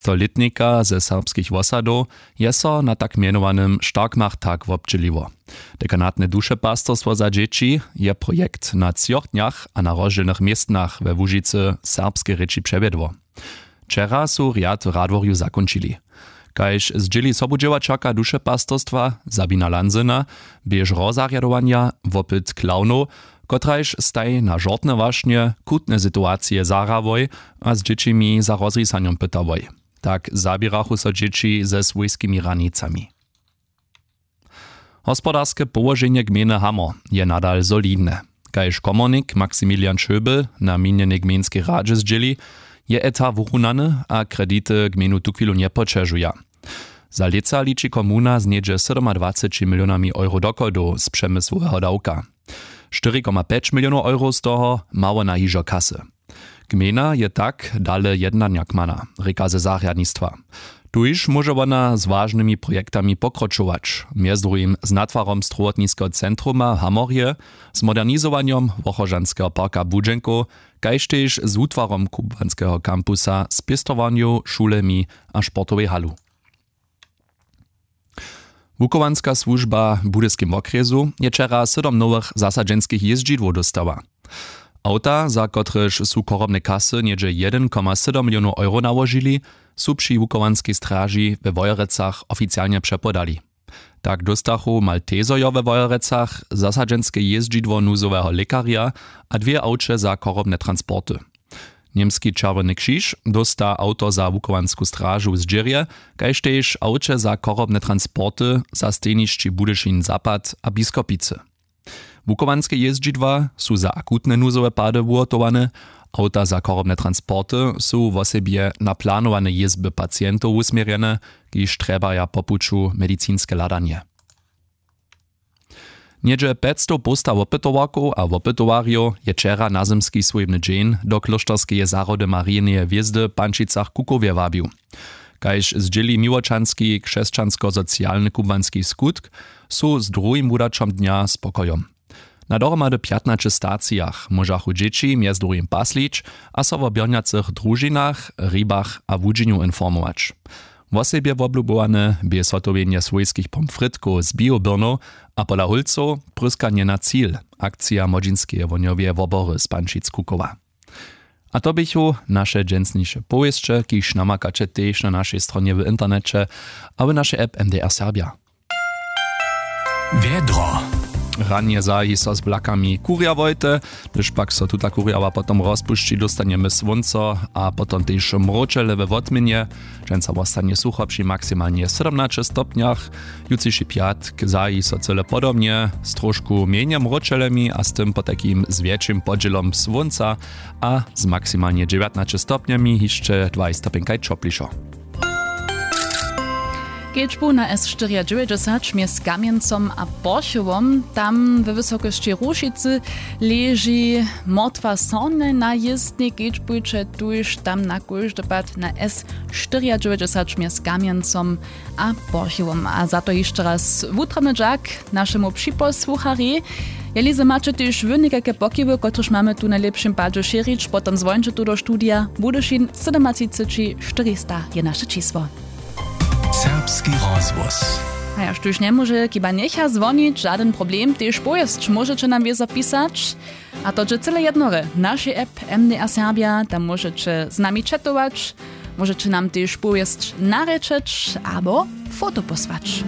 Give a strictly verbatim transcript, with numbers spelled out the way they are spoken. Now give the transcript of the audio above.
To lětnika ze serbskich wosadow je so na tak mjenowanym Starkmachtak wobdźěliło. Dekanatne dušepastorstwo za dźěći je projekt na třoch dnjach a na rozdźělnych městnach we Łužicy serbske rěči přewjedło. Wčera su rjad w Radworju zakónčili. Kaž zdźěli sobudźěłaćerka dušepastorstwa Sabina Lanzena, běž rozarjadowanja wopyt klawnow, kotraž staj na žortne wašnje, chutne situacije zahrawoj a z dźěćimi za rozrisanjom pytałoj. Tak zaběrachu so dźěći ze swójskimi hranicami. Hospodarske połoženje gmejny Hamor je nadal solidne. Kaž komornik Maximilian Schöbel na minjenej gmejnskej radźe zdźěli, je eta wurunany a kredity gmejnu tuchwilu njepoćežuja. Za lětsa liči komuna z něhdźe sydomadwaceći milionami euro dochodow z přemysłoweho dawka. Štyri koma pjeć milionow euro z toho mało na hižo kasy. Gmejna je tak dale jednanjak mana, rěka ze zarjadnistwa. Tuž móže wona z wažnymi projektami pokročować, mjez druhim z natwarom strowotniskeho centruma w Hamorje, z modernizowanjom wochožanskeho parka budźenkow, kaž tež z wutwarom kubłanskeho kampusa z pěstowarnjow, šulemi a sportowej halu. Wuchowanska słužba w budyskim wokrjesu je wčera sydom nowych zasadźenskich jězdźidłow dóstała. Awta, za kotrež su chorobne kasy něhdźe jedyn koma sydom milionow euro nałožili, su při wuchowanskej straži we Wojerecach oficialnje přepodali. Tak dóstachu maltezojo we Wojerecach zasadźenske jězdźidło nuzoweho lěkarja a dwě awće za chorobne transporty. Němski čerwjeny křiž dósta awto za wuchowansku stražu w zdźěrje, kaž tež awće za chorobne transporty za stejnišći Budyšin zapad a Biskopicy. Wuchowanske jězdźidła su za akutne nuzowe pady wuhotowane. Awta za chorobne transporty su wosebje na planowane jězby pacientow wusměrjene, kiž trjebaja po puću medicinske hladanje. Něhdźe pjećstow połsta wopytowarkow a wopytowarjow je wčera nazymski swójbny dźeń do klóšterskeje zahody Marineje hwězdy w Pančicach-Kukowje wabił. Kaž zdźěli miłočanski křesćansko-socialny kubłanski skutk, su z druhim wudaćom dnja spokojom. Na dohromady pjatnaće stacijach móžachu dźěći mjez druhim paslić a so wo běrnjacych družinach, hribach a łudźenju informować. Wosebje woblubowane bě zhotowjenje swójskich pomfritkow z bioběrnow a pola hólcow pryskanje na cil, akcija młodźinskeje wohnjoweje wobory z Pančic-Kukowa. A to běchu naše dźensniše powěsće, kiž namakaće tež na našej stronje w interneće a w našej app M D R Serbja. Wjedro. Ranje zahi so z blakami kurjawojte, hdyž pak so tuta kurjawa potom rozpušći, dóstanjemy słónco a potom tež mróčele we wotměnje. Dźensa wostanje sucho při maksimalnje sydomnaće stopnjach. Jutřiši pjatk zahi so cyle podobnje, z trošku mjenje mróčelemi a z tym potajkim z wjetšim podźělom słónca a z maksimalnje dźewjatnaće stopnjemi hišće dwaj stopjenkaj ćoplišo. Kedźbu na S štyriadźewjećdźesać mjez Kamjencom a Porchowom, tam we wysokosći Rušicy leži mortwa sornje na jězbni. Kedźbujće tuž tam na kóždy pad na S štyriadźewjećdźesać mjez Kamjencom a Porchowom. A za to hišće raz wutrobny dźak našemu připosłucharjej. Jeli zo maće tež wy někajke pokiwy, kotrež mamy tu w najlěpšim padźe šěrić, potom zwončće tu do studija. Budyšin sydomatřiceći štyrista je naše čisło. Serbski rozhłos. A ja, štóž njemóže, kiba njecha zwonić, žadyn problem, tež powěsć móžeće nam wězo pisać. A to dźe cyle jednore w našej app M D R Serbja, tam móžeće z nami chatować, móžeće nam tež powěsć narěčeć abo foto posłać.